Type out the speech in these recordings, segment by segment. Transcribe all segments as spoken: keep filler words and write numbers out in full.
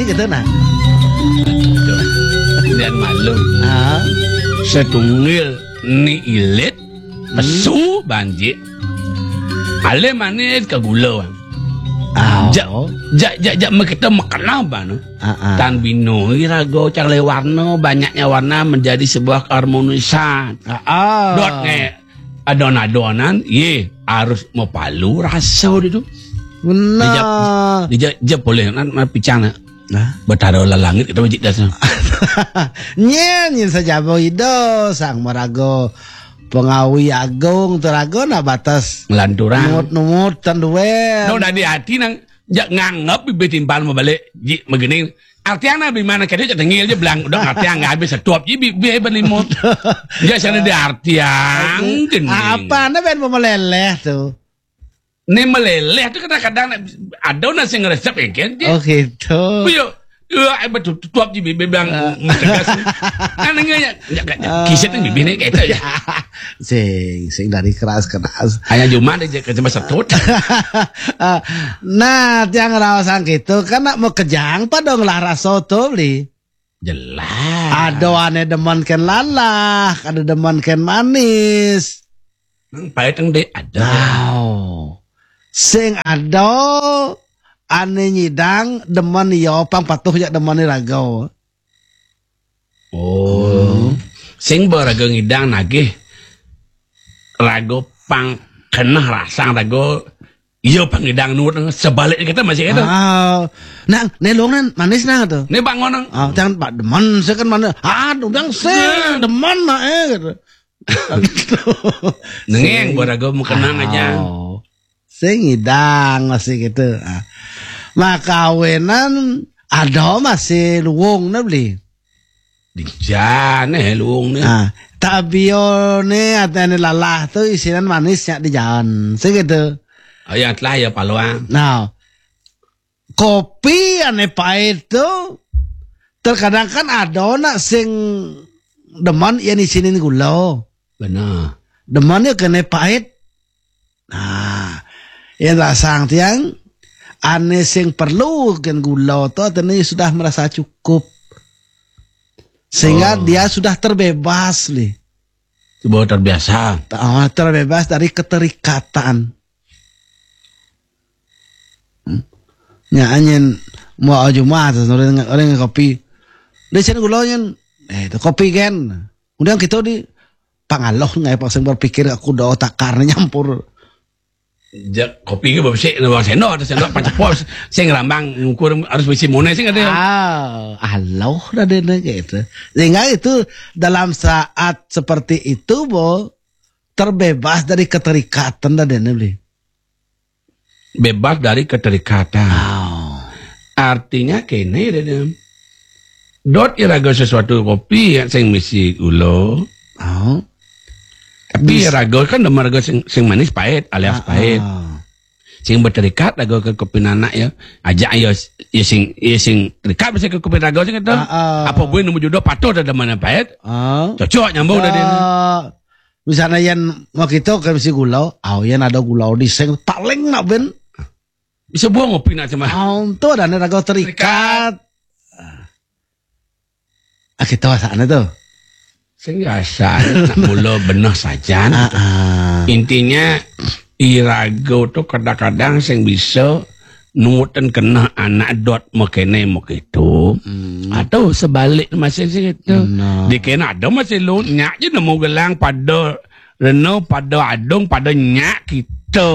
Gitu nah. Dan maklum. Ah. Setunggil ni ilit, pesu banjik. Alih manis ke gula. Ah. Jak, jak, jak, jak, kita makan apa, no? Ah, ah. Tan bino irago cang le warna, banyaknya warna menjadi sebuah keharmonisan. Ah, ah. Dot nge adon-adonan, ye harus mapalu rasa dia tu. Benar. Dia jap, dia jap, jap boleh, nan, nan picang nak. Nah. Betara lah langit kita wajib dah sana. Nyen, nyen sajaba ida, sang maraga pengawi agung tu raga nak batas. Ngelanturang. Numut, numut, tan duel. No, dah di hati nang, jak nganggap bibir timpal mabalik, ji, magini. Artian na bimana kadi jak tengil je belang, udah artian nggak habis setuap je bibir berlimut. Ya, sana di artian, Oke. Gini. Ah, apa na ben pemeleleh tu? Ni meleleh tu kadang-kadang nak, ada nak sing resep ya kan, je. Oh, gitu. Yo, ya, eh, betul, tutup je bibir bilang Ah. Tegas. Kan dengar ya, ya, ya, Ah. Kisah tu bibir ni kata ya. Sing, sing dari keras-keras. Hanya cuma dia je kerja masa tut. Ah, nah, tiang rawasan gitu, kan nak mau kejang pada ngelah rasa tu beli. Jelas. Ada ane demen ken lalah, ada demen ken manis. Nang pahit nang dek ada. Nah, sing ada ane nyidang demen ya pang patuh jak demen ni raga. Oh. Hmm. Sing ba raga ngidang nagih raga pang keneh rasang raga. Iya pang ngidang nurut sebalik kita masih itu. Ah, nang nelong nan manis nang tu. Ni bangun nang. Ah, jangan pak demen saya kan mana. Ah, udah sing demen nak eh gitu. Nengeng buat raga mau kenang aja. Oh. Sing ngidang masih gitu. Ah. Makawinan ada masih luwung na beli. Di jane luwung ni. Ah, tabio ni atene lalah tu isinan manis nyak di jalan. Sing gitu. Oh ya telah ya paluang. Nah, kopi ane pahit tu terkadang kan ada nak sing demen yang isinin gula. Benar. Demen ya kene pahit. Nah, yang rasang tiang ane sing perlu gen gula tu artinya sudah merasa cukup. Sehingga Oh. dia sudah terbebas li. Sudah terbiasa. Ah, terbebas dari keterikatan. Hmm. Nya anyen mau Jumat orang orang kopi. Dia sini gula nyen. Eh, tu kopi kan. Kemudian kita di pangaloh ngai pasang berpikir aku dah takar nyampur. Jak kopi ke bersih na bang sendok atau sendok pacepos sing rambang ngukur harus bisi mone sing ada. Ah, aloh dah dene gitu. Sehingga itu dalam saat seperti itu bo terbebas dari keterikatan dah dene beli. Bebas dari keterikatan. Oh. Artinya kene dene. Dot iraga sesuatu kopi yang sing misi gula. Oh. Tapi Bis- raga kan demen raga sing, sing manis pahit alias Ah, pahit. Ah. Sing berterikat raga ke kopi nanak ya. Ajak ya, ya sing ya sing terikat mesti ke kopi raga sing kata. Ah, ah. Apa boleh nemu jodoh patuh dah demen pahit. Ah. Cocok nyambung dah dia. Ah. Misalnya yang mau kita ke mesti gula, oh yang ada gula di sing paling nak ben. Bisa buang kopi nak cuma. Oh, tu ada raga terikat. Terikat. Ah, kita sana tu. Sing biasa nak mula benah sajan. Ah, ah. Intinya irago tu kadang-kadang sing bisa nurutin keneh anak dot mekene mekitu. Hmm. Atau sebalik masih situ. Benar. Di kena ada masih lu nyak je nemu gelang pada reno pada adung pada nyak kita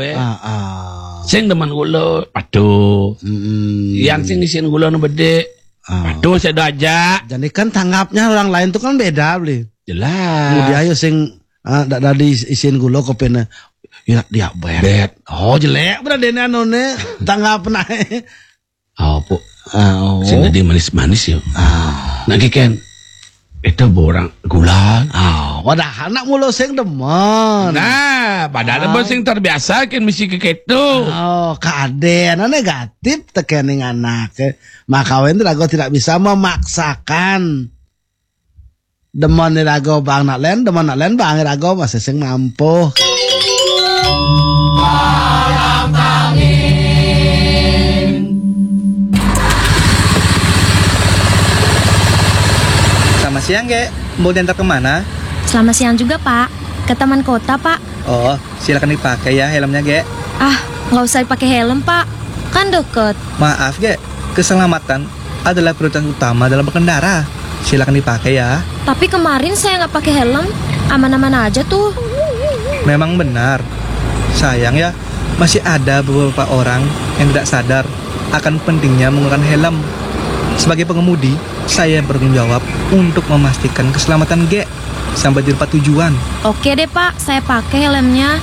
eh. Ah, ah. Sing demen gula patuh. Hmm. Yang sing isin gula nu bedik Ah. Aduh, saya dah ajak. Jadi kan tanggapnya orang lain tu kan beda, beli. Jelas. Kemudian ayo sing ah, dak dak diisin gula kopine. Ya dia bet. Bet. Oh, jelek berarti ini anu ne. Tanggap naik. Oh, pu. Ah, oh. Sing tadi manis-manis ya. Ah. Nak kiken. Itu borang gula. Ah, wadah anak mulu sing demen. Nah, padahal Ah. Demen sing terbiasa kan mesti ke ketu. Oh, keadaan negatif tekening anak. Maka wen rago tidak bisa memaksakan. Demen rago bang nak len, demen nak len bang rago masih sing mampu. Siang, Gek. Mau diantar kemana? Selamat siang juga, Pak. Ke Taman Kota, Pak. Oh, silakan dipakai ya helmnya, Gek. Ah, nggak usah dipakai helm, Pak. Kan deket. Maaf, Gek. Keselamatan adalah prioritas utama dalam berkendara. Silakan dipakai ya. Tapi kemarin saya nggak pakai helm, aman-aman aja tuh. Memang benar. Sayang ya, masih ada beberapa orang yang tidak sadar akan pentingnya menggunakan helm. Sebagai pengemudi, saya bertanggung jawab untuk memastikan keselamatan Gek sampai di tempat tujuan. Oke deh, Pak, saya pakai helmnya.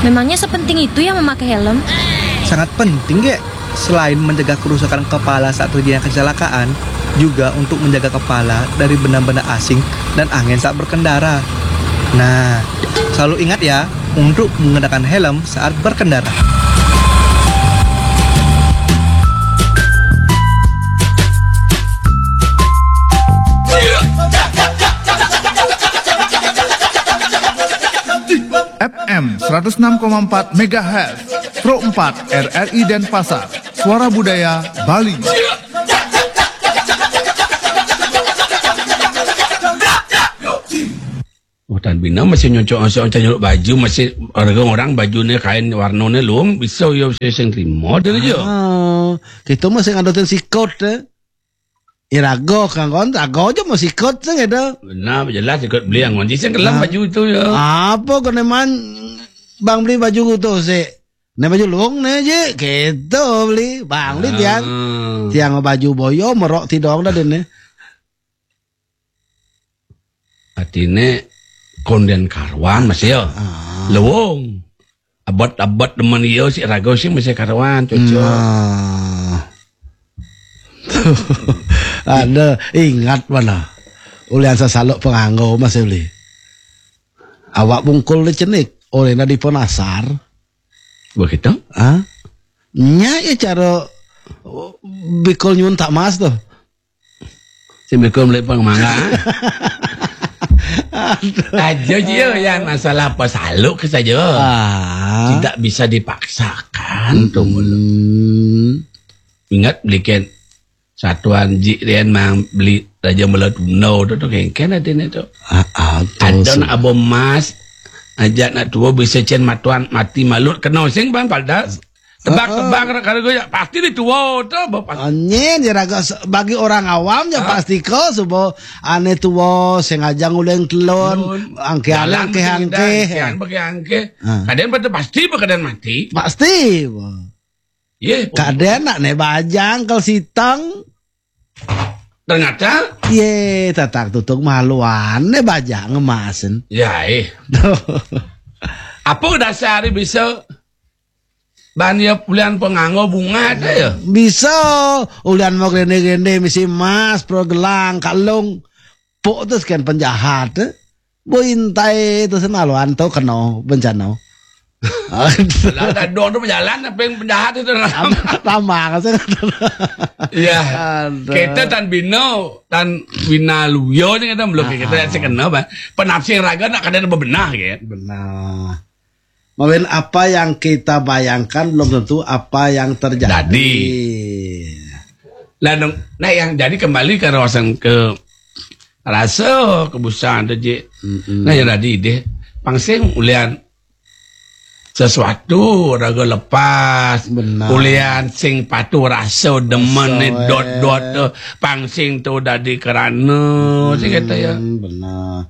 Memangnya sepenting itu ya memakai helm? Sangat penting, Gek. Selain menjaga kerusakan kepala saat terjadi kecelakaan, juga untuk menjaga kepala dari benda-benda asing dan angin saat berkendara. Nah, selalu ingat ya, untuk mengenakan helm saat berkendara. F M seratus enam koma empat megahertz, Pro empat R R I Denpasar, Suara Budaya Bali. Oh, tan bina masih nyocok masih nyolok baju masih orang orang baju ni kain warna ni lung bisa ya saya sing terima dia je. Ah, kita masih ngadotin sikot eh. Irago kan kon, rago aja mau sikot sih gitu. Benar jelas ikut beli yang ngonci sing kelam Ah. Baju itu ya. Apa kau neman bang beli baju gitu sih? Nah baju luang nih je, gitu beli, bang beli tiang, Ah. tiang baju boyo merok tidong dah dene. Artinya konden karuan masih ya. Lewong. Abot-abot demen iya si raga sih masih karuan cocok. Nah. Ada ingat mana? Ulian sasaluk penganggo masih beli. Awak bungkul di cenik, oleh nadi penasar. Begitu? Ah, nya ya cara bikul nyun tak mas tuh. Si bikul beli pengmangga. Aja je ya masalah apa saluk ke saja. Ah. Tidak bisa dipaksakan tuh mulu. Hmm. Ingat belikan satuan ji rian mang beli raja mula tuna tu tu kengken ada ni tu. Ah, ah, tu Ada su- nak abo mas aja nak tua bisa cen matuan mati malut kena sing bang paldas. Tebak-tebak kalau gue ya pasti di tua tu abo pasti. Anyen ya raga se- bagi orang awam ya Ah. pasti ko subo ane tuwo sengaja nguleng telon Telon. angke Jalan angke bagi angke. Jalan bagi angke. Ah. Kadang pada pasti berkadang mati. Pasti. Bo. Ye. Kadang nak ne bajang kal sitang. Ternyata Ye, tatak tutuk maluan ne bajang emasen. ya eh. Apa dasar bisa ban ya pulian penganggo bunga ada ya? Bisa ulian mau gende-gende misi emas, pro gelang, kalung. Pok tu sekian penjahat. Eh. Bointai tu senaluan tu kena bencana. Lah dadong tu berjalan apa yang penjahat itu dalam. Tambah kan saya kata. Ya. Aduh. Kita tan bina tan bina luyo ni kita belum kita yang kena bah. Penafsir raga nak kadang bebenah kan. Benar. Mungkin apa yang kita bayangkan belum tentu apa yang terjadi. Jadi. Lah dong, nah yang jadi kembali ke rawasan ke rasa kebusan tu je. Mm-mm. Nah yang tadi deh pangsing ulian sesuatu raga lepas Benar. ulian sing patu rasa demen Rasa, ni eh. dot-dot tu pangsing tu dadi kerana sing kata ya. Hmm, benar.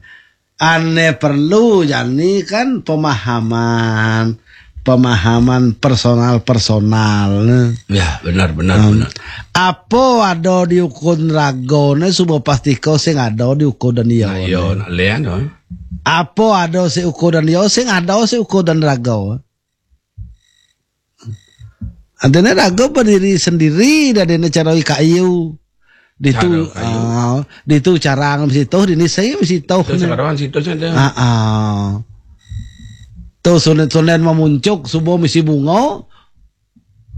Ane perlu jani kan pemahaman pemahaman personal-personal. Ya benar benar Hmm. benar. Apa ada di ukun raga ne suba pasti kau sing ada di ukun dan dia. Nah, yo nak lian tu. Apa ada si ukun dan dia sing ada si ukun dan raga. Adene raga berdiri sendiri dan dene cara kayu. Ditu Cara kayu. Ah, ditu carang mesti toh dini saya mesti toh. Tu sekarang situ saja. Ah, ah. Tu sunen-sunen memuncuk subuh mesti bunga.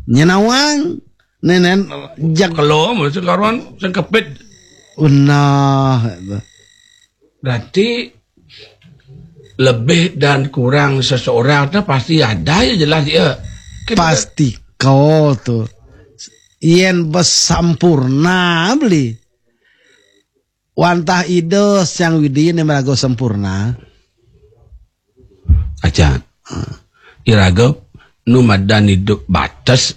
Nyenawang. Nenen jak Kalau mesti karuan sengkepit. Nah. Berarti lebih dan kurang seseorang tu pasti ada ya jelas ya. Kita Pasti kau tu. Yen besampurna beli. Wantah Ida Sang Widi né maraga sampurna. Acan. Iraga nu madan idup bates,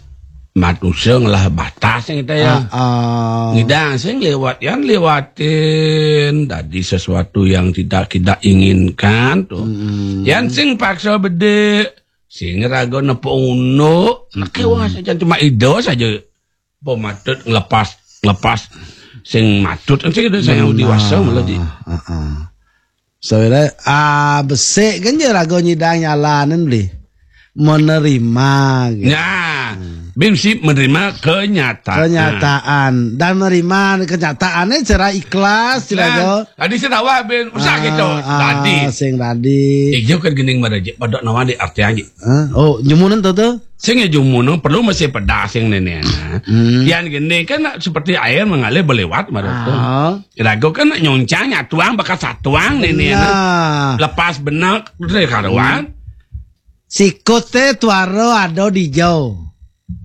manusia ngelah batas sing kita ya. Ah, ah. Ngidang sing lewat, yan lewatin tadi sesuatu yang tidak kita inginkan tuh. Mm-mm. Yan sing paksa bede, sing raga nepuk unduk, nak kewas aja cuma Ida saja. Apa matut ngelepas, ngelepas sing matut kan sing sing dewasa malah di. Heeh. Saudara, ah, besik kan je raga nyidang nyalanin beli. Menerima gitu. Nah, bin si menerima kenyataan. Kenyataan dan menerima kenyataannya secara ikhlas, raga. Tadi saya tawa bin usah gitu. Ah, tadi sing tadi. Ijo kan gening maraja pada nama di arti aja. Hah? Oh, jumunan tuh tuh. Sing ya jumunan perlu masih pedas sing nenek. Hmm. Yang gini kan seperti air mengalir berlewat maraga. Ah. Raga kan nyuncang nyatuang bakat satuang nenek. Nah. Lepas benak terus karuan. Hmm. Sikut té tuara ada di jauh.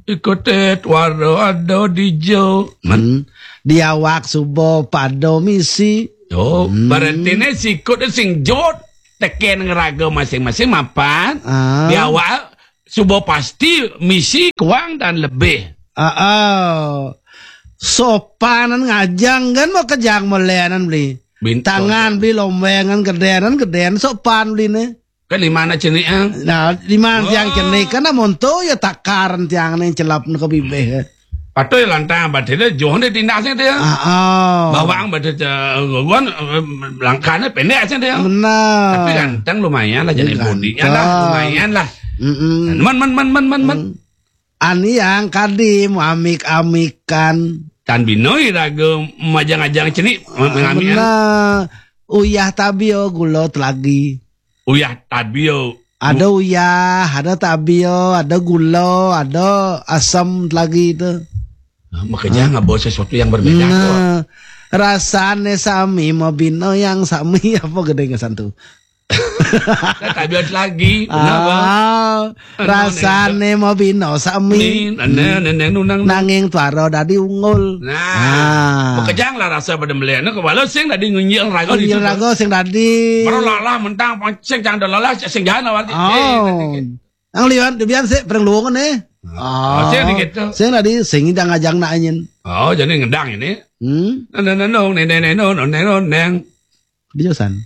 Ikut té tuara ada di jauh. Hmm. Di awak suba pada misi. Oh, hmm. Berarti né sikut sing jot teken ngeraga masing-masing mapan. Ah. Di awak suba pasti misi kuang dan lebih. Ah, ah. Sopanan ngajang kan mau kejang melenan beli. Bintang. Tangan beli lombengan gedenan gedenan sopan beli né. Kan lima anak cenik ah. Nah, lima tiang cenik kan amun tu ya takaran tiang né celap ke bibih. Patuh ya lantang batin dia jauh dia tindak sih dia. Ah, ah. Bawang batin guan langkahnya pendek sih dia. Benar. Tapi ganteng lumayan lah jadi bodinya lah lumayan lah. Mm-mm. Man man man man man man. Ani yang kadi mau amik-amikan. Tan binoi raga majang-ajang cenik mengamik. Benar. Uyah tabio gula telagi. Uyah tabio. Ada uyah, ada tabio, ada gula, ada asam lagi itu. Nah, makanya nggak bawa sesuatu yang berbeda kok. Nah, rasane sami mabina yang sami apa gedeng santu. Nah, tabio lagi. Kenapa? Ah, rasane mabina sami. Nene nene nunang nanging tuara dadi ungul. Nah, makanya lah rasa pada melihatnya kepala sing tadi ngunjil raga di raga sing tadi. Baru lalah mentang sing jangan lalah sing jangan awal. Oh. Ang liwan debian sik pereng luwung né. Oh, sing gitu. Sing tadi sing ngidang ngajang nak anyin. Oh, jadi ngedang ini. Hmm. Neneng nenong neneng nenong neneng neneng. Dia san.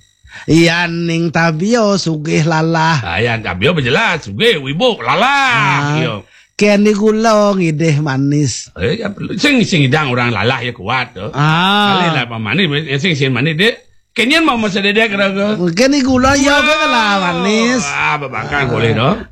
Iya ning tabio sugih lalah. Ah, ya tabio berjelas sugih wibu lalah. Ah, iya. Keni gula ngidih manis. Eh, ya perlu. Sing sing ngidang orang lalah ya kuat tuh. Ah. Kali lah pamanis sing sing manis dek. Kenyan mau masa dedek raga. Mungkin ni gula ya ke lah manis. Ah, babakar boleh dong.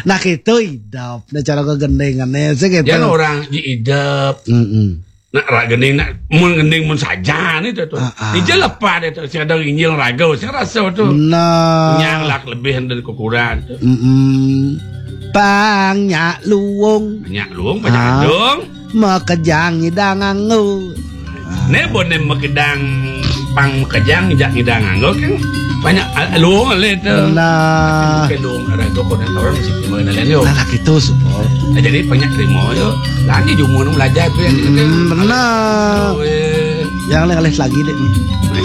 Nah, itu idap. Nah, cara ke gendengan ya, sih gitu. Dia orang di idap. Mm-mm. Nak rak gending nak mun gending mun saja ni tu tu. Ah, ah. Dia je lepas dia tu. Saya ada injil raga, saya rasa tu. Nah. Nyang lah lebih dari kekurangan tu. Mm-mm. Pang nyak luwung. Nyak luwung banyak dong. Makejang idang anggo. Né boné makedang pang makejang jak ngidang anggo kan banyak ah, luung le tu. Nah. Tapi luung ada tu kodan orang mesti terima lain yo. Nah, laki tu supol. Nah, jadi banyak terima yo. Lagi jumun belajar tu yang hmm, benar. Yang lain lagi deh.